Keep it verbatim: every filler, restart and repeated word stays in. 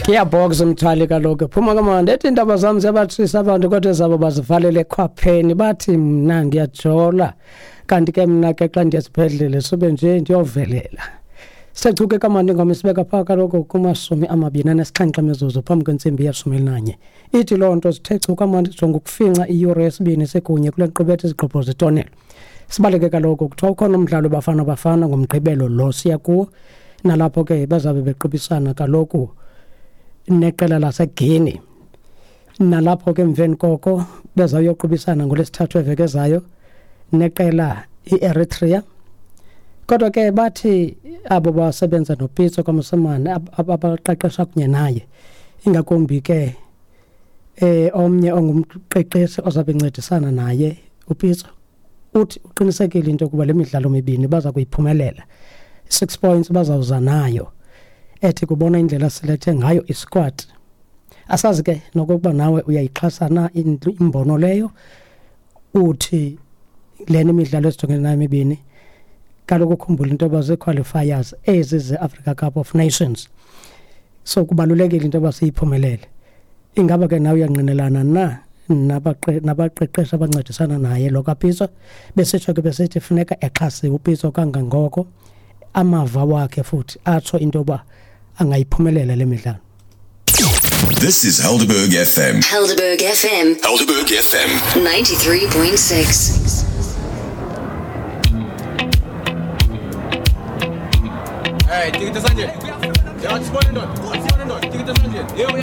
Gearbox mthwali kaloku phuma kamandi ethi iindaba zam ziyabathisa abantu kodwa ezabo bazivalele ekhwapheni bathi mna ndiyajola kanti ke mna ke xa ndiya esibhedlele sube nje ndiyovelela. Sechuke kamandi ingoma isibeka phaa kaloku kumashumi amabini anesixhenxe mizuzu phambi kwentsimbi yeshumi elinanye. Ithi loo nto zithe chu kamandi jonga ukufinca iyure yesibini sekunye kule nkqubo ethi Izigqobho Zetonelo. Sibaleke kaloku kuthiwa ukhona umdlalo Bafana Bafana ngoMgqibelo lo siya kuwo, nalapho ke bazabe bequbisana kaloku neqela laseGuinea, nalapho ke emveni koko bezawuyoqubisana ngolwesithathu eveki ezayo neqela i-Eritrea. Kodwa ke bathi abo basebenza noPitso kwaMosimane abaqeqesha kunye naye, ingakumbi ke eh omnye ongumqeqeshi ozabe encedisana naye uPitso, uthi uqinisekile into yokuba le midlalo mibini baza kuyiphumelela, six points bazawuza nayo. Ethi kubona indlela silethe ngayo isquad. Asazi ke nokokuba nawe uyayixhasa na imbono leyo, uthi lena imidlalo esijongene nayo mibini kaloku ukhumbula into yoba zii-qualifiers ezi ze-Africa Cup of Nations, so kubalulekile into yoba siyiphumelele. Ingaba ke nawe uyangqinelana na nabaqeqeshi abancedisana naye lo kaPitso? Besitsho ke besithi funeka exhasiwe uPitso kangangoko, amava wakhe futhi atsho into yoba angayiphumelela le midlalo. This is Helderberg F M. Helderberg F M. Helderberg F M. ninety-three point six. Hey, take it to Sanjay.